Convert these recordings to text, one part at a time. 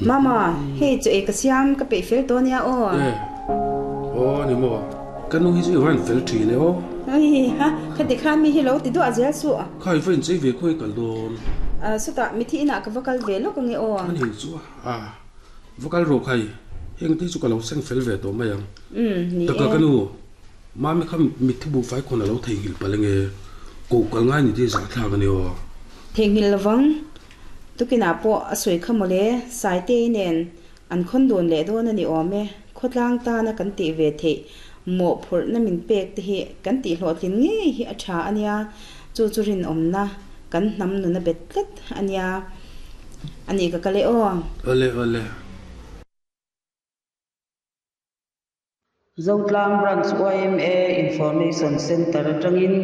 Mama, hei chaw ei ka siam ka peih fel tawh ania aw. E, aw ni maw, ka nu hi chu i va rawn fel thin e aw. Ui ha, khati khan mi hi lo ti duah zel suh. Kha i va inchei ve khawi kal dawn. Sutah mithi inah ka va kal ve lawk ange aw. A ni chu a, va kal rawh khai, heng te chu ka lo seng fel ve tawh mai ang. Umm, ni e. Taka ka nu, Mami kha mitthi buhfai khawn a lo theihnghilh palh ange, ko kal ngai ni te zahthlak a ni aw. Theihnghilh lovang, tukinah pawh a sawi kha mawle, Saitei nen an khawn dun leh dawn a ni awm e, khawtlang tana kan tih ve theih mawhphurhna min pek te hi kan tih hlawhtlin ngei hi a tha a nia, chu chu rinawmna kan hnam nun a bet tlat a nia, a nih ka kal e aw. Awle awle. Zotlang Branch yma Information Centre atangin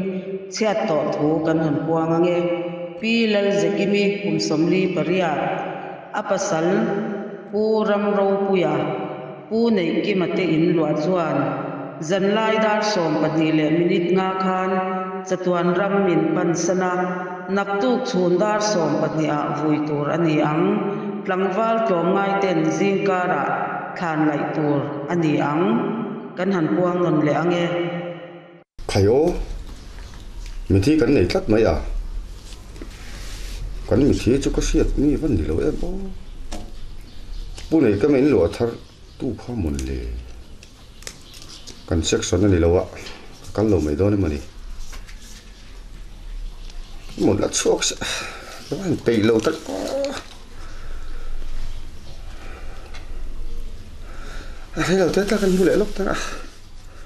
chhiat tawh thu kan han puang ange. Pi Lalzekimi kum 48, a pasal Pu Ramropuia, Pu Neihkima te in luah chuan zanlai dar 12 leh minute nga khan chatuan ram min pansan a, naktuk chhun dar 12 ah vui tur a ni ang. Tlangval tlawmngai ten zingkarah Thlan laih tur a ni ang, kan han puang nawn leh ang e. Khai aw, mithi kan nei tlat mai a, kan mithi chu ka hriat mi va ni lo em aw. Pu nei ka min luah thar tu kha mawn le, kan section a ni lo a, ka kal lo mai dawn emaw ni. Mawn la chhuak se, ka va han peih lo tak aw. A rei lo te tak an hmu leh lawk tak a.